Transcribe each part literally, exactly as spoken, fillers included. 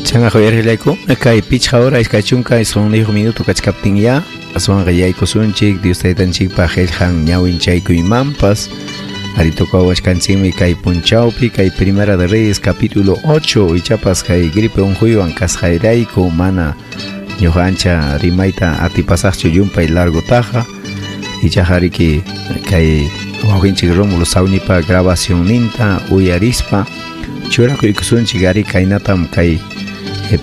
Chanaqa uyariqllaykuna kay pichqa hora iskay chunka isqunniyuq minuto kachkaptin ya aswanqa yaykusunchik Dios taytanchikpa qillqan ñawinchaykuymanpas. Ari tocawachkanchikmi kay punchawpi kay Primera de Reyes capítulo ocho ichapas kay gripe unquywan kasqayrayku mana ñuqa ancha rimayta atipasaqchu llumpay largotaqa ichaqa riki kay wawqinchik Rómulo Sawnipa grabacionninta uyarispa churakuykusunchik ari kaynatam kay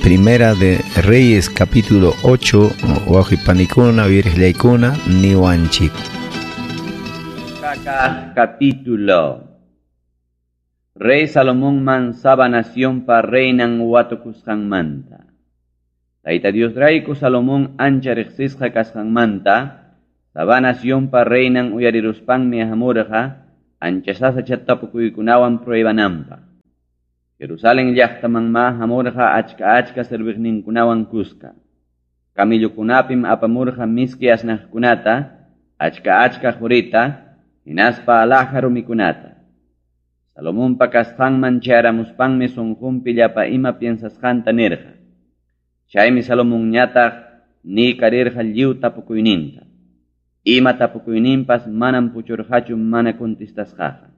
Primera de Reyes capítulo ocho wawqi panikuna uyariqllaykuna niwanchik. Capítulo. Rey Salomón man Saba nación pa reinan watukusqanmanta. Tayta Dios rayku Salomón ancha riqsisqa kasqanmanta, Saba nación pa reinan uyariruspanmi hamurqa ancha sasacha tapukuykunawan pruebananpaq. Jerusalén llaqtaman ma hamurqa achka achka serviqninkunawan kuska. Camillokunapim apamurqa miski asnaqkunata, achka achka qurita, hinaspa alhaja rumikunata. Salomonpa kasqanman chayaramuspanmi sunqunpi llapa ima piensasqanta nirqa. Chaymi Salomonñataq niykarirqa lliw tapukuyninta. Ima tapukuyninpas manam puchurqachu mana contestasqaqa.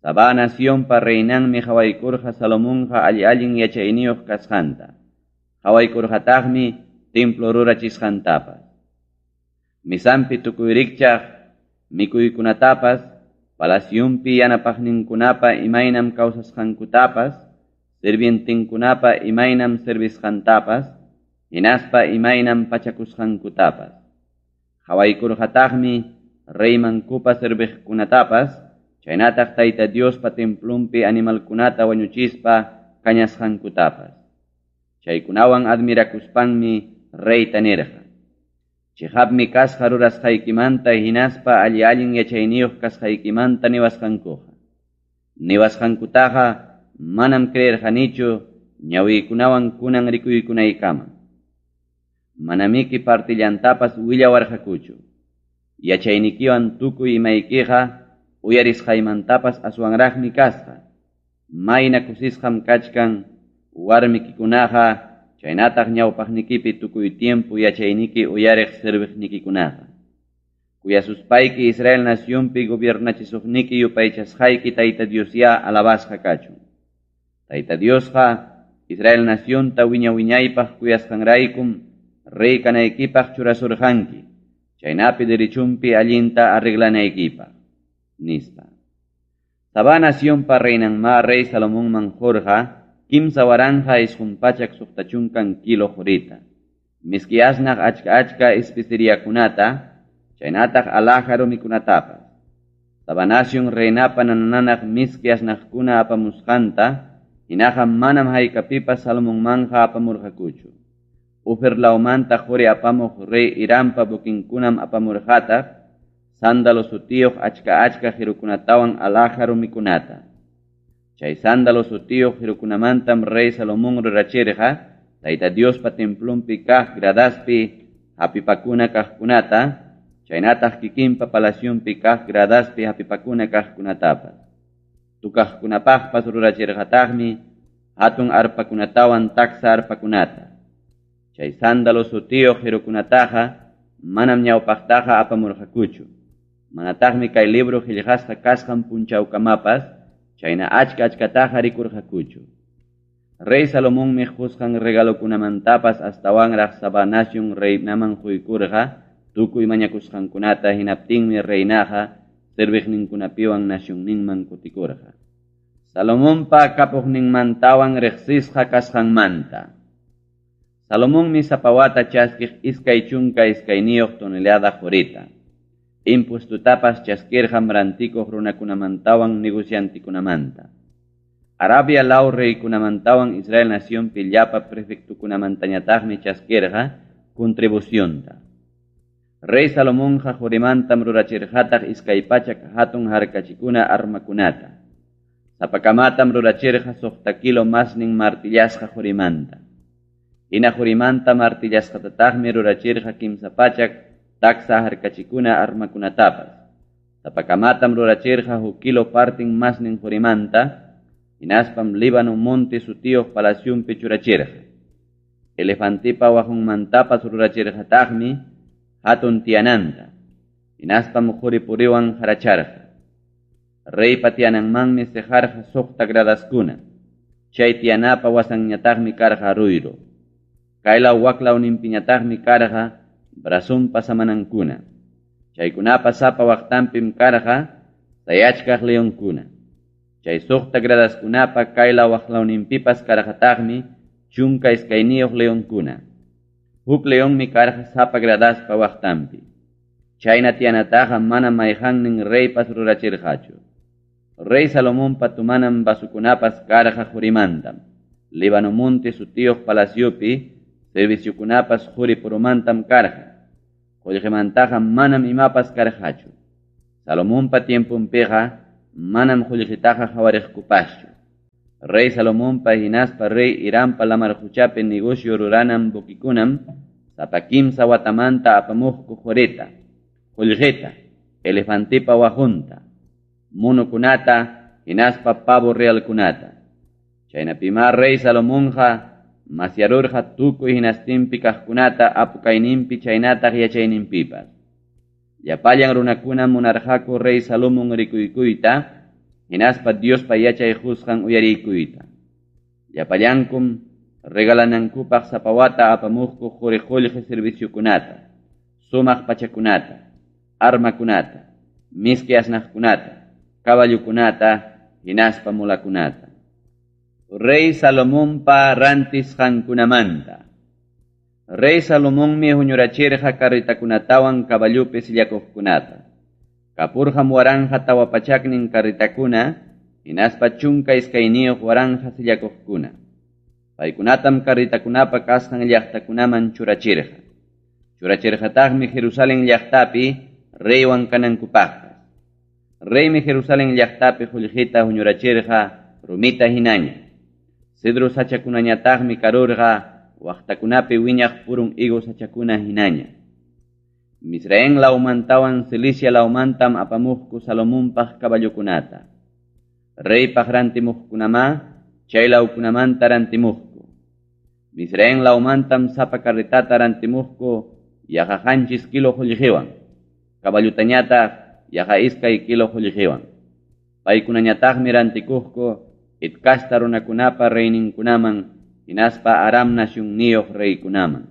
Saba nacionpa reinanmi qhawaykurqa Salomonqa alli-allin yachayniyuq kasqanta. Qhawaykurqataqmi templo rurachisqantapas. Misanpi tukuy rikchaq mikuykunatapas, palaciunpi yanapaqninkunapa imaynam kawsasqankutapas, sirvientinkunapa imaynam servisqantapas, hinaspa imaynam pachakusqankutapas. Qhawaykurqataqmi reymankupa serviqkunatapas, chaynataq Tayta Diospa templunpi animalkunata wañuchispa kañasqankutapas. Chaykunawan admirakuspanmi reyta nirqa: Chiqapmi kasqa rurasqaykimanta hinaspa alli-allin yachayniyuq kasqaykimanta niwasqankuqa. Niwasqankutaqa manam creerqanichu ñawiykunawan kunan rikuykunaykama. Manamiki partillantapas willawarqakuchu. Yachaynikiwan tukuy imaykiqa uyarisqaymantapas aswanraqmi kasqa. Mayna kusisqam kachkan warmikikunaqa chaynataq ñawpaqnikipi tukuy tiempo yachayniki uyariq serviqnikikunaqa. Kuyasuspayki Israel nacionpi gobiernachisuqniki yupaychasqayki Tayta Diosyá alabasqa kachun. Tayta Diosqa Israel nacionta wiña wiñaypaq kuyasqanraykum rey kanaykipaq churasurqanki, chaynapi derechunpi allinta arreglanaykipaq, nispa. Saba nacionpa reinanma rey Salomonman qurqa kimsa waranja isqun pachak suqta chunkan kilo qurita, miski asnaq achka achka especeriakunata, chaynataq alhaja rumikunatapas. Saba nación reinapa nananaq miski asnaqkuna apamusqanta, hinaqa manam haykapipas Salomonmanja apamurqakuchu. Ofer lawmanta quri apamuq rey Hirampa buquinkunam apamurqataq, sándalo sutiyuq achka achka qirukunatawan alhaja rumikunata. Chay sándalo sutiyuq qirukunamantam rey Salomón rurachirqa Tayta Diospa templunpi kaq gradaspi hapipakuna kaqkunata, chaynataq kikinpa palacionpi kaq gradaspi hapipakuna kaqkunatapas. Tukaqkunapaqpas rurachirqataqmi hatun arpakunatawan taksa arpakunata. Chay sándalo sutiyuq qirukunataqa manam ñawpaqtaqa apamurqakuchu. Manataqmi kay libro qillqasqa kasqan punchawkamapas chayna achka achkataqa rikurqakuchu. Rey Salomonmi qusqan regalokunamantapas astawanraq Saba nación reinaman quykurqa tukuy mañakusqankunata, hinaptinmi reinaqa serviqninkunapiwan nacionninman kutikurqa. Salomonpa kapuqninmantawan riqsisqa kasqanmanta. Salomonmi sapa wata chaskiq iskay chunka iskayniyuq tonelada qurita. Impuestutapas chaskirqam rantikuq runakunamantawan negociantikunamanta. Arabia law reykunamantawan Israel nacionpi llapa prefectukunamantañataqmi chaskirqa contribucionta. Rey Salomonqa qurimantam rurachirqataq iskay pachak hatun harkachikuna armakunata. Sapakamatam rurachirqa suqta kilo masnin martillasqa qurimanta. Hina qurimanta martillasqatataqmi rurachirqa kimsa pachak taksa harkachikuna armakunatapas. Sapakamatam rurachirqa huk kilo partin masnin qurimanta, Hinaspam Líbano monte sutiyuq palacionpi churachirqa. Elefantipa waqunmantapas rurachirqataqmi hatun tiyananta. Hinaspam quri-puriwan haracharqa. Reypa tiyananmanmi siqarqa suqta gradaskuna. Chay tiyanapa wasanñataqmi karqa ruyru. Kaylaw waklawninpiñataqmi karqa brazonpa samanankuna. Chaykunapa sapa waqtanpim karqa sayachkaq leonkuna. Chay suqta gradaskunapa kaylaw waklawninpipas karqataqmi chunka iskayniyuq leonkuna. Huk leonmi karqa sapa gradaspa waqtanpi. Chayna tiyanataqa mana mayqannin reypas rurachirqachu. Rey Salomonpa tumanan vasukunapas karqa qurimantam. Líbano monte sutiyuq palaciopi serviciokunapas quri purumantam karqa. Qullqimantaqa manam imapas karqachu. Salomonpa tiemponpiqa manam qullqitaqa qhawariqkupaschu. Rey Salomonpa hinaspa rey Hirampa lamar quchapi negocio ruranan buquikunam sapa kimsa watamanta apamuqku qurita, qullqita, elefantipa waqunta, monokunata, hinaspa pavo realkunata. Chaynapimá rey Salomonqa masyarurqa tukuy hinastinpi kaqkunata apukayninpi chaynataq yachayninpipas. Llapallan runakuna munarqaku rey Salomón rikuykuyta, hinaspa Diospa yachay qusqan uyariykuyta. Llapallankum regalanankupaq sapa wata apamuqku quri qullqi serviciokunata, sumaq pachakunata, armakunata, miski asnaqkunata, caballokunata, hinaspa mulakunata. Rey Salomonpa rantisqankunamanta. Rey Salomonmi huñurachirqa carritakunatawan caballopi sillakuqkunata. Kapurqam waranja tawa pachaknin carritakuna, hinaspa chunka iskayniyuq waranja sillakuqkuna. Paykunatam carritakunapa kasqan llaqtakunaman churachirqa. Churachirqataqmi Jerusalén llaqtapi reywan kanankupaqpas. Reymi Jerusalén llaqtapi qullqita huñurachirqa rumita hinaña. Cedro sachakunañataqmi karurqa waqtakunapi wiñaq purun higo sachakuna hinaña. Misraín lawmantawan Cilicia lawmantam apamuqku Salomonpaq caballokunata. Reypaq rantimuqkunamá chay lawkunamanta rantimuqku. Misraín lawmantam sapa carretata rantimuqku yaqa qanchis kilo qullqiwan, caballutañataq yaqa iskay kilo qullqiwan. Paykunañataqmi rantikuqku Het casta runakunapa reyninkunaman, hinaspa Aram nasyunniyuq reykunaman.